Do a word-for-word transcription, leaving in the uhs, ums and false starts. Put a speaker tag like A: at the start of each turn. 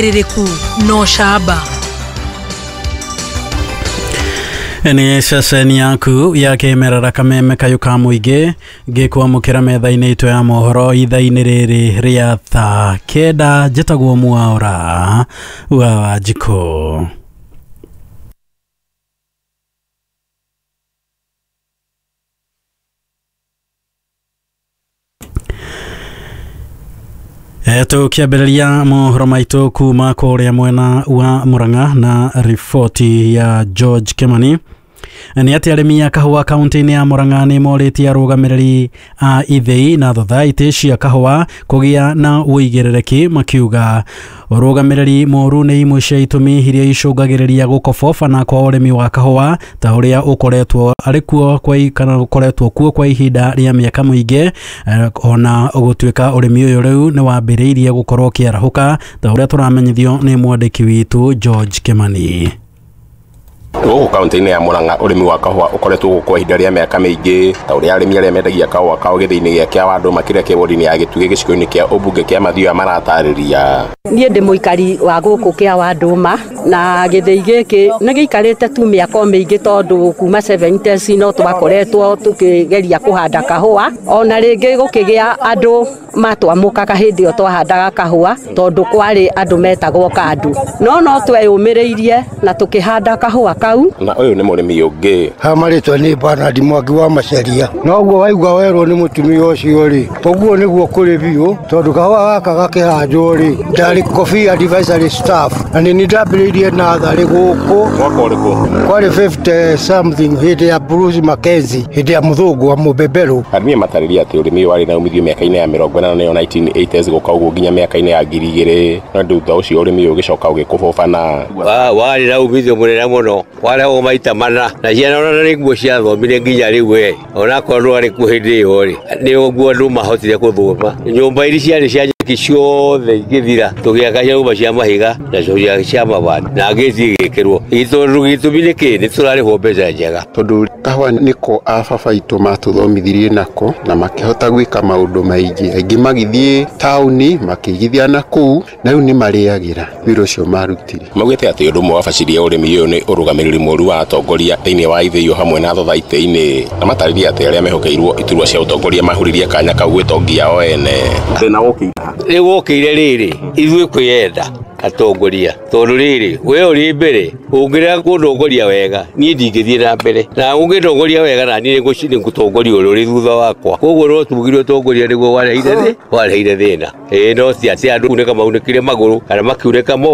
A: Rĩrĩku no camba.
B: Nĩ ceceni yaku ya kĩmerera kameme kayũ ka mũingĩ ngĩkwamũkĩra metha-inĩ itũ ya mohoro ithaa-inĩ rĩrĩ rĩa thaa kenda. Njĩtagwo Mwaũra wa Wanjikũ. Tũkĩambĩrĩria mohoro maitũ kuma kũrĩa mwena wa Murang'a na riboti ya George Kimani nĩ atĩ arĩmi a kahũa kaunti-inĩ ya Murang'a nĩ morĩtie arũgamĩrĩri a ithĩi na thothaitĩ cia kahũa kũgĩa na ũigĩrĩrĩki, makiuga ũrũgamĩrĩri mũru nĩ imwe cia itũmi iria icũngagĩrĩria gũkobobana kwa ũrĩmi wa kahũa ta ũrĩa ũkoretwo arĩ kuo kwa kana ũkoretwo kuo kwa ihinda rĩa mĩaka mĩingĩ, ona gũtuĩka ũrĩmi ũyũ rĩu nĩ wambĩrĩirie gũkorwo ũkĩarahũka ta ũrĩa tũramenyithio nĩ mwandĩki witũ George Kimani.
C: Gũkũ kaunti-inĩ ya Murang'a ũrĩmi wa kahũa ũkoretwo gũkũ kwa ihinda rĩa mĩaka mĩingĩ ta ũrĩa arĩmi arĩa mendagia kahũa kao gĩthĩi-inĩ gĩa Kĩawandũ makĩria kĩ ward-inĩ ya Gĩtugĩ gĩcigo-inĩ kĩa ũmbunge kĩa Mathioya maratarĩria.
D: Niĩ ndĩ mũikari wa gũkũ Kĩawandũma na gĩthĩi gĩkĩ nĩ gĩikarĩte tu mĩaka mĩingĩ tondũ kuma seventies no twakoretwo tũkĩgeria kũhanda kahũa, ona rĩngĩ gũkĩgĩa andũ matwamũkaga hĩndĩ ĩyo twahandaga kahũa tondũ kwarĩ andũ metagwo kandu, no no tweyũmĩrĩirie na tũkĩhanda kahũa kau.
C: Na ũyũ nĩ mũrĩmi ũngĩ.
E: Ha marĩtwa nĩ Bernard Mwangi wa Maceria. Noguo waigua werwo nĩ mũtumia ũcio rĩ, ũguo nĩguo kũrĩ biũ tondũ kahũa gaka gakĩhandwo rĩ, ndarĩ Coffee Advisory Staff na nĩ niĩ ndambĩrĩirie natharĩ gũkũ.
C: Mwaka ũrĩkũ?
E: Kwarĩ fifty something hĩndĩ ya Bruce Mackenzie, hĩndĩ ya mũthũngũ wa mũbeberũ.
C: Arĩmi matarĩria atĩ ũrĩmi ũyũ warĩ na umithio mĩaka-inĩ ya mĩrongo ĩnana nĩyo nineteen eighties gũka ũguo nginya mĩaka-inĩ ya ngiri igĩrĩ, no thutha ũcio ũrĩmi ũyũ ũgĩcoka ũgĩkũbũbana.
F: Warĩ na umithio mũnene mũno, warehwo maita mana na ciana ona nĩ nguo ciathomire nginya rĩu we onakorwo ndwarĩ kuo hĩndĩ ĩyo rĩ, nĩ ũguo andũ mahotire gũthoma. Nyũmba iria ciarĩ cia nyeki ciothe igĩthira, tũgĩaka nyũmba cia mahiga na cia mabati na ngĩti igĩkĩrwo. Tondũ gĩtũmi nĩ kĩ? Nĩ tũrarĩhwo mbeca njega.
G: Tondũ kahũa nĩko a baba aitũ matũthomithirie nako na makĩhota gwĩka maũndũ maingĩ, aingĩ magĩthiĩ taũni makĩigithia na kũu na rĩu nĩ marĩagĩra wĩra ũcio marutire.
C: Maugĩte atĩ ũndũ ũmwe wabacirie ũrĩmi ũyũ nĩ ũrũgamĩrĩri mũru wa atongoria thĩinĩ wa ithĩi hamwe na thothaitĩ-inĩ, na matarĩria atĩ arĩa mehokeirwo iturwa cia ũtongoria mahuririe kanya kau gwĩtongia o ene. Thĩna wokĩire
F: rĩu wokĩire rĩrĩ ithuĩ kwĩyenda atongoria tondũ rĩrĩ we ũrĩ mbere ũngĩrega kũndongoria wega niĩ ndingĩthiĩ na mbere, na ũngĩndongoria wega na niĩ nĩngũtongoria ũrĩa ũrĩ thutha wakwa. Koguo no tugire ũtongoria nĩguo wareheire thĩ wareheire thĩna. Ĩĩ no ti atĩ andũ kunĩka maunĩkire magũrũ kana makiunĩka moko.